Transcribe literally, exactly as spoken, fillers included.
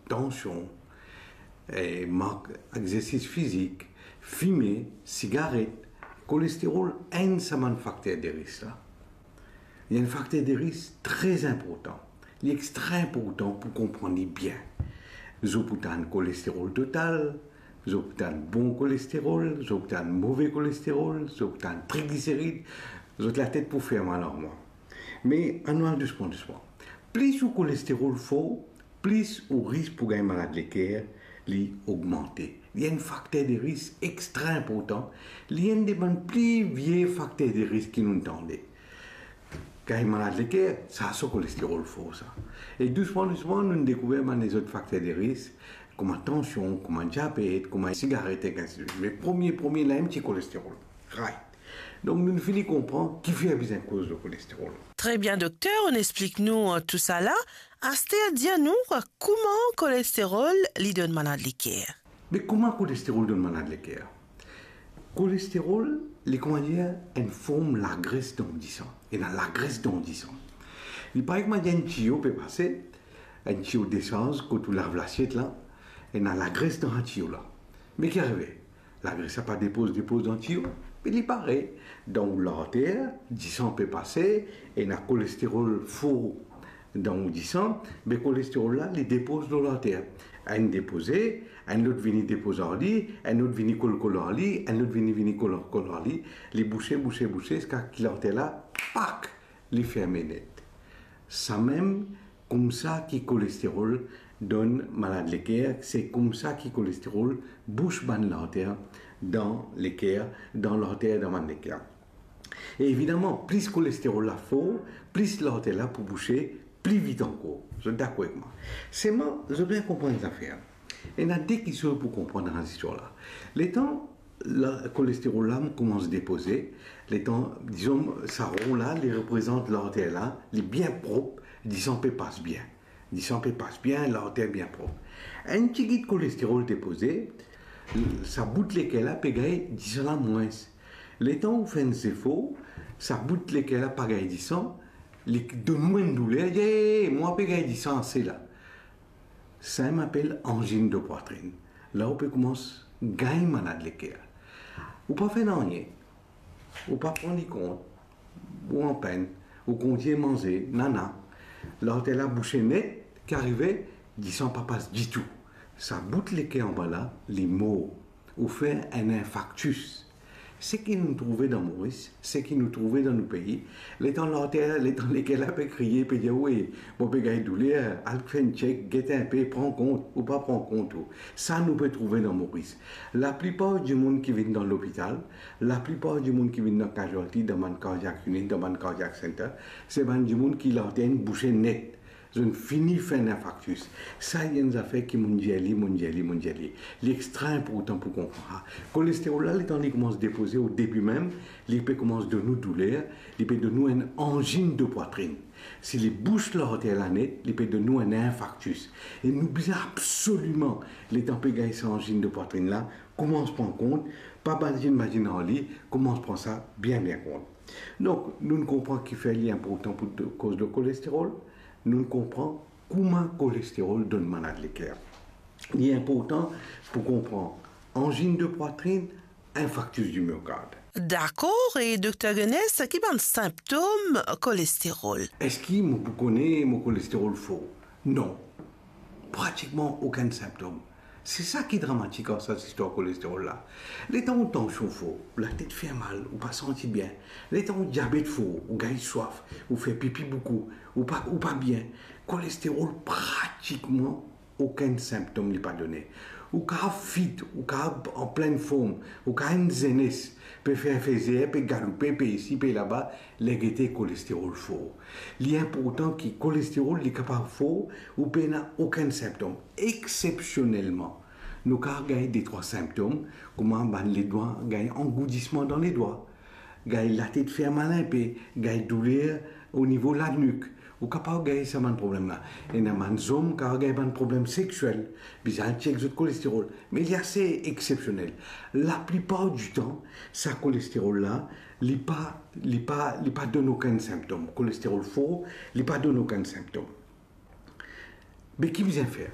tansion, eh, mank exersis fizik, fime, sigaret, kolesterol, enn sa bann fakter de risk la. Li enn fakter de risk tre inportan. Li extra inportan pou konprann li bien. Zot pou tann kolesterol total, zot pou tann bon kolesterol, zot pou tann move kolesterol, zot pou tann trigliserid, zot latet pou fer mal ar mwa. Me anou al dousman, dousman. Plis ou kolesterol for, plis ou risk pou gagn malad leker, li ogmante. Li enn fakter de risk extra inportan. Li enn de bann pli vie fakter de risk ki nou tande. Gagn malad leker, sa so kolesterol for sa. E dousman, dousman, nou dekouver bann lezot fakter de risk, kouma tansion, kouma diabet, kouma sigaret, ek ainsi de suite. Me premie, premie la, enn ti kolesterol. Right. Donk, nou fini konpran kifer bizin koz lor kolesterol. Tre bien, dokter, ou explik nou, eh, tou sa la. Aster, dir nou, eh, kouma kolesterol li donn malad leker? Me kouma kolesterol donn malad leker? Kolesterol, li, kouma dir, enn form lagres dan ou disan. Ena lagres dan ou disan. Li parey kouma dir enn tiyo pe pase, enn tiyo desarz kot ou lav lasiet la, ena lagres dan sa tiyo la. Me ki arive? Lagres la pa depoz, depoz dan tiyo, me li pare dan ou larter, disan pe pase, ena kolesterol for dan ou disan, me kolesterol la, li depoz lor larter. Enn depoze, enn lot vini depoz ar li, enn lot vini kol, kol ar li, enn lot vini, vini kol, kol ar li, li bouse, bouse, bouse, ziska ki larter la, pak, li ferme net. Samem koumsa ki kolesterol donn malad leker, se koumsa ki kolesterol bous bann larter dan leker, dan larter dan bann leker. E evidaman, plis kolesterol la for, plis larter la pou bouse pli vit ankor. Zot dakor ek mwa? Selman, zot bizin konprann enn zafer. Ena de kiksoz pou konprann dan zistwar la. Letan la, kolesterol la koumans depoze, letan, dizon, sa ron la, li reprezant larter la, li bien prop, disan pe pas bien. Disan pe pas bien, larter bien prop. Enn tigit kolesterol depoze, sa bout leker la pe gagn disan la mwins. Letan ou fer enn zefor, sa bout leker la pa gagn disan, li donn ou enn douler, ye, mwa pe gagn disan ase la. Samem apel anzinn de pwatrin. La ou pe koumans gagn malad leker. Ou pa fer nanye. Ou pa pran li kont. Ou anpenn. Ou kontign manze, nana. Larter la bouse net, ki arive, disan pa pas ditou. Sa bout leker anba la, li mor. Ou fer enn infaktis. Seki nou trouve dan Moris, seki nou trouve dan nou pei, letan larter, letan leker la pe kriye, pe dir, "We, mo pe gagn douler, al fer enn chek, get inpe, pran kont, ou pa pran kont ou." Sa nou pe trouve dan Moris. Laplipar dimoun ki vinn dan lopital, laplipar dimoun ki vinn dan casualty, dan bann cardiac unit, dan bann cardiac center, se bann dimoun ki larter inn bouse net. Zot inn fini fer enn infaktis. Sa enn zafer ki monn dir li, monn dir li, monn dir li. Li extra inportan pou konpran sa. Kolesterol la, letan li koumans depoze o debi mem, li pe koumans donn ou douler, li pe donn ou enn anzinn de pwatrin. Si li bous larter la net, li pe donn ou enn infaktis. E nou bizin absoliman, letan pe gagn sa anzinn de pwatrin la, koumans pran kont, pa badin badin ar li, koumans pran sa bien bien kont. Donk, nou konpran kifer li inportan pou to-, koz lor kolesterol, nou konpran kouma kolesterol donn malad leker. Li inportan pou konpran anzinn de pwatrin, infaktis di myokard. Dakor, e dokter Guenesse, ki bann sinptom kolesterol? Eski mo pou kone mo kolesterol for? Non. Pratikman okenn sinptom. Se sa ki dramatik ar sa zistwar kolesterol la. Letan ou tansion for, ou latet fer mal, ou pa santi bien. Letan ou diabet for, ou gagn swaf, ou fer pipi boukou, ou pa, ou pa bien. Kolesterol pratikman okenn sinptom li pa done. Ou kapav fit, ou kapav an plenn form, ou kapav enn zenes, pe fer fezer, pe galoupe, pe isi, pe laba, ler gete kolesterol for. Li inportan ki kolesterol li kapav for, ou pena okenn sinptom. Exsepsionelman, nou kapav gagn de trwa sinptom, kouma bann ledwa gagn angoudisman dan ledwa, gagn latet fer mal inpe, gagn douler o nivo lanik. Ou kapav gagn sa bann problem la. Ena bann zom kapav gagn bann problem sexiel, bizin al chek zot kolesterol. Me li ase exsepsionel. Laplipar ditan, sa kolesterol la, li pa, li pa, li pa donn okenn sinptom. Kolesterol for, li pa donn okenn sinptom. Me ki bizin fer?